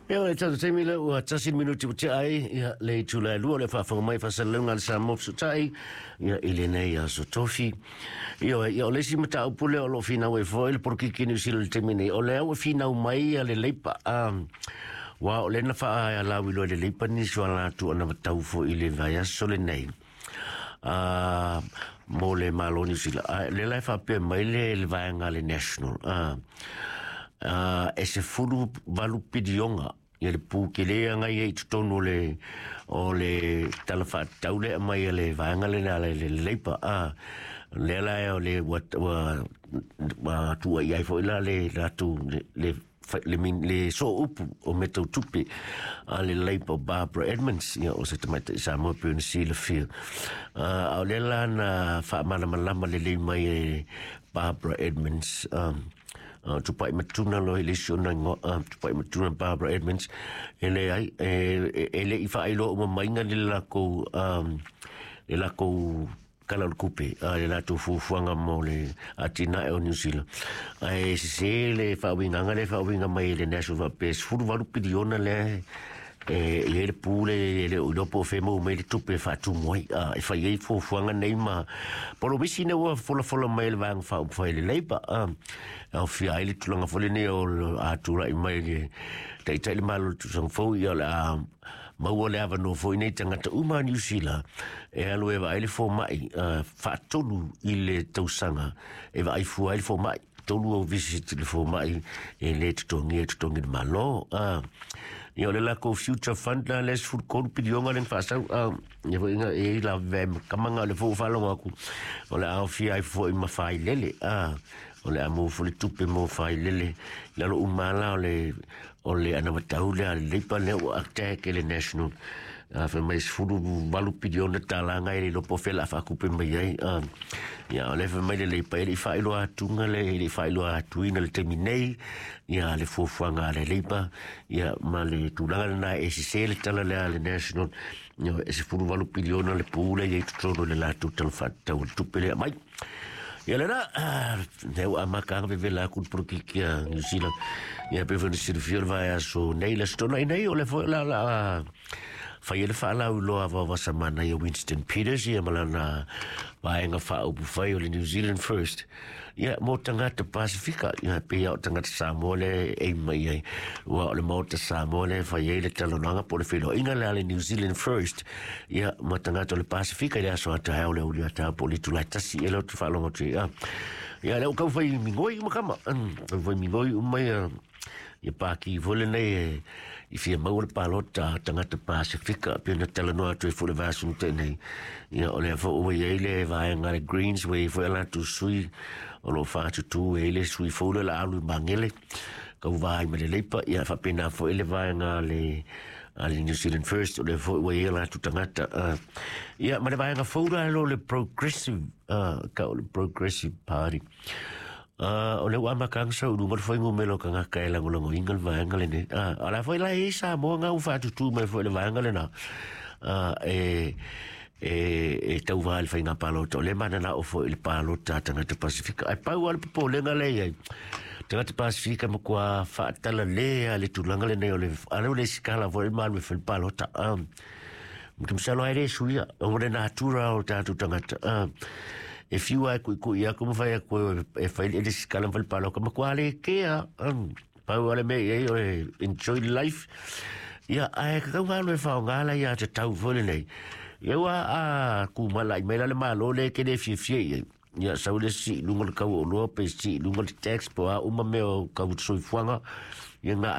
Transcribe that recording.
Ia, o le tatou taimi lea ua 1 minute ua tea ai ia le itula e 2, o le faafofoga mai faasalalauga a le Samoa Fesootai ia i lenei aso Tofi. Ia, ia o le isi mataupu lea o lo o finau ai foi le polokiki Niu Sila i le taimi nei, o lea ua finau mai ia le Leipa, ua o lea na faalauiloa e le Leipa nisi o latou anavatau foi i le vaiaso lenei mo le Malo Niu Sila. Lea la e faapea mai le vaega le National, e 18 piliona ia le pu tele anga ia i totonu o le tala faatatau lea mai le vaega lena le Leipa. Lea la o le ua tuuai ai foi la le latou le sooupu o mea tau tupe a le Leipa, Barbara Edmonds, ia, o se tamaitai Samoa pei ona silafia. A o lea la na faamalamalama lelei mai e Barbara Edmonds, Tupai Matuna loa i le isi ona igoa, Tupai Matuna Barbara Edmonds, e leai, e le i faailoa uma maiga le lakou tala o le tupe, le latou fuafuaga mo le atinae o Niu Sila. Ae sese le faauigaga le faauiga mai e le National faapea 18 piliona lea e i ai le pu le e le o iloa po o fea maua mai le tupe e faatumu ai, e fai ai fuafuaga nei ma polomisi ne ua folafola mai le Vaega Faaupufai le Leipa, aofia ai le tulaga foi lenei o a tulai mai le taitai le Malo le tausaga fou, ia, o le a maua le avanoa foi nei tagata uma a Niu Sila e alu e vaai le fomai faatolu i le tausaga, e vaai fua ai le fomai, tolu au visit le fomai e le totogia e totogi le Malo. Ia, o le lakou Future Fund la le 13 piliona le faasau, ia foi nga e la ve kamaga le fou faalogo atu o le aofia ai foi ma failele, o le a mo foi le tupe mo failele lalo uma la o le anavatau lea le Leipa lea ua attack e le National, fai mai $18 piliona e le iloa po o fea o le a faatupe mai ai. Ia, o le fai mai le Leipa e le i faailoa atuga le e le i faailoa atuina le taimi nei ia le fuafuaga a le Leipa ia ma le tulaga lena e sese le tala lea a le National, ia, e 18 piliona le pu lea i totonu o le latou tala faatatau o le tupe lea mai. Ia lena, lea ua amata anga vevela atu le polokiki a Niu Sila. Ia pe foi na silafia le vaiaso nei, le Aso Toonai nei, o le foi la fai ai le faalauiloa a samana ia Winston Peters ia ma lana vaega faaupufai o le New Zealand First. Ia mo tagata Pasifika, ia pe ia o tagata Samoa le e mai ai. Ua o le Maota Samoa le fai ai le talanoaga po o le feiloaiga le a le New Zealand First. Ia ma tagata o le Pasifika i le aso ataeao le uli ataeao po o le itula e 1 e le o te faalogo atu ai. Ia lea ua tau fai migoi uma kama. Tau fai migoi uma ia ia pāki foi lenei e i fia maua le palota a tagata Pasifika pe na talanoa atu ai foi le vaiaso na tea nei. Ia o lea foi ua i ai le vaega le Greens ua i ai foi a latou sui o lo o faatutū e ai le sui fou lea o le a alu i Magele tauva ai ma le Leipa. Ia faapena foi le vaega a le New Zealand First, o lea foi ua i ai a latou tagata. Ia ma le vaega fou la lo le Progressive, ka o le Progressive Party. O le ua amata anga sau luga le fuainumera o tagata e lagolagoina le vaega lenei. O la foi la e i ai Samoa nga ua faatutū mai foi le vaega lena e tauva i le faiga palota, o lea mananao foi i le palota a tagata Pasifika. Ae pau lava le popolega lea i ai, tagata Pasifika matua faatalale a le tulaga lenei o le ale o le isi kala foi le malu e fai le palota. Te masalo ai le suia, o le natura o tatou tagata. E fiu ai kui kui aku ma fai aku e fai le isi kala ma fai le palota, matua le kea. Pau ale mea i ai o le enjoy life. Ia, ae kakau alu e whaonga la ia te tau foi lenei. Ia ua a kumala i mai la le Malo le ke le fiafia i ai. Ia sau le si lunga le kau o loa pe si lunga le tax po a uma mea o kau soifuaga. Ia ngā.